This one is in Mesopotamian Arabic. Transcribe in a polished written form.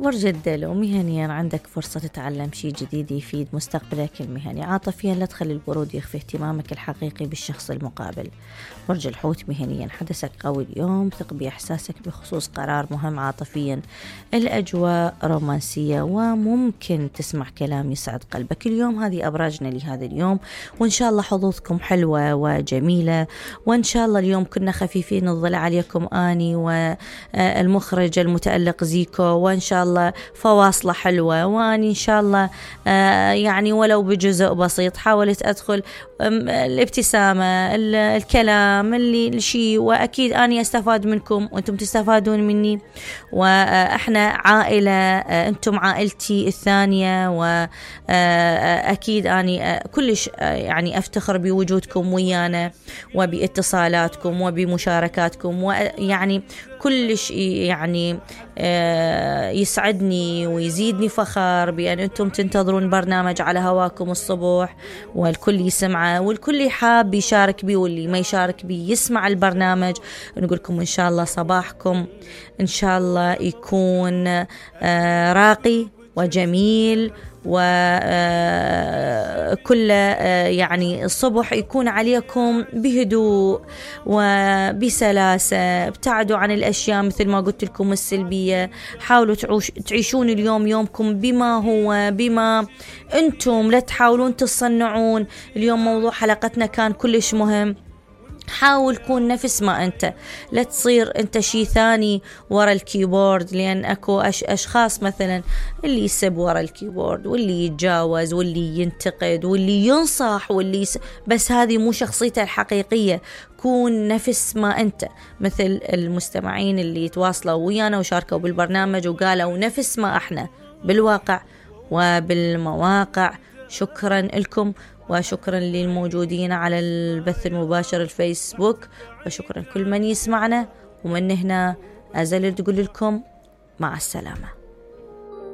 برج الدلو، مهنيا عندك فرصة تتعلم شيء جديد يفيد مستقبلك المهني. عاطفيا لا تخلي البرود يخفي اهتمامك الحقيقي بالشخص المقابل. برج الحوت، مهنيا حدثك قوي اليوم، ثق بإحساسك بخصوص قرار مهم. عاطفيا الأجواء رومانسية وممكن تسمع كلام يسعد قلبك اليوم. هذه أبراجنا لهذا اليوم، وإن شاء الله حظوظكم حلوة وجميلة، وإن شاء الله اليوم كنا خفيفين الظل عليكم أني والمخرج المتألق زيكو، وإن شاء الله فواصلة حلوة، وأني إن شاء الله يعني ولو بجزء بسيط حاولت أدخل الابتسامة، الكلام اللي شيء، وأكيد أني أستفاد منكم وأنتم تستفادون مني، وإحنا عائلة، أنتم عائلتي الثانية، وأكيد أني كلش يعني أفتخر بوجودكم ويانا وباتصالاتكم وبمشاركاتكم، ويعني كلش يعني يسعدني ويزيدني فخر بأن أنتم تنتظرون برنامج على هواكم الصبح، والكل يسمعه والكل يحاب يشارك بي، واللي ما يشارك بي يسمع البرنامج. نقولكم إن شاء الله صباحكم إن شاء الله يكون راقي وجميل، وكل يعني الصبح يكون عليكم بهدوء وبسلاسة. ابتعدوا عن الأشياء مثل ما قلت لكم السلبية، حاولوا تعيشون اليوم يومكم بما هو، بما أنتم، لا تحاولون تصنعون. اليوم موضوع حلقتنا كان كلش مهم، حاول كون نفس ما أنت، لا تصير أنت شيء ثاني ورا الكيبورد، لأن أكو أشخاص مثلا اللي يسب ورا الكيبورد، واللي يتجاوز، واللي ينتقد، واللي ينصح، واللي بس هذه مو شخصيته الحقيقية. كون نفس ما أنت، مثل المستمعين اللي يتواصلوا ويانا وشاركوا بالبرنامج وقالوا نفس ما احنا بالواقع وبالمواقع. شكرا لكم، وشكرا للموجودين على البث المباشر الفيسبوك، وشكرا كل من يسمعنا. ومن هنا أزل تقول لكم مع السلامة.